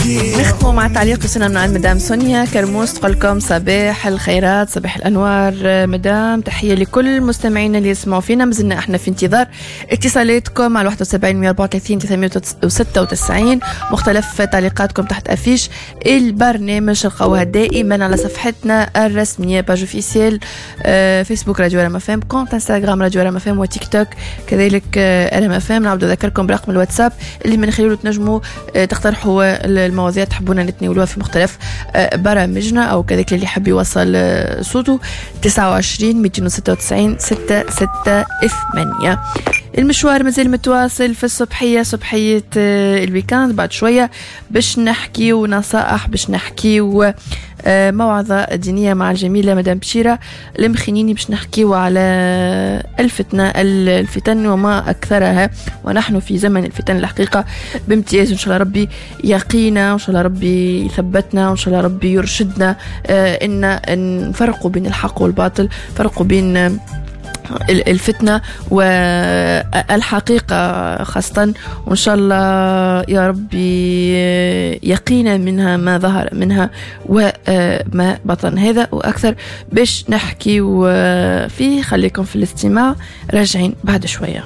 نختموا مع تعليق وصلنا من عند مدام سونيا كرموس، تقول لكم صباح الخيرات، صباح الانوار مدام، تحية لكل مستمعينا اللي يسمعوا فينا. مازلنا احنا في انتظار اتصالاتكم على 71 134 396، مختلف تعليقاتكم تحت affiche البرنامج تلقاوها دائما على صفحتنا الرسمية page officielle فيسبوك راديو ار ام اف ام، compte انستغرام راديو ار ام اف ام، وتيك توك كذلك ار ام اف ام. نعاود نذكركم برقم الواتساب اللي من خلاله تنجموا تقترحوا المواضيع تحبونا نتناولوها في مختلف برامجنا، او كذلك اللي يحب يوصل صوته 29 296 6 6 8. المشوار مازال متواصل في الصبحية، صبحية ال week-end. بعد شوية باش نحكيو نصائح، باش نحكيو موعظة دينية مع الجميلة مدام بشيرة المخنيني، باش نحكيو على الفتنة، الفتن وما أكثرها، ونحن في زمن الفتن الحقيقة بامتياز. إن شاء الله ربي يقينا، وإن شاء الله ربي يثبتنا، وإن شاء الله ربي يرشدنا إن نفرقوا بين الحق والباطل، فرقوا بين الفتنة والحقيقة خاصة، وإن شاء الله يا ربي يقينا منها ما ظهر منها وما بطن. هذا وأكثر باش نحكي فيه، خليكم في الاستماع، راجعين بعد شوية.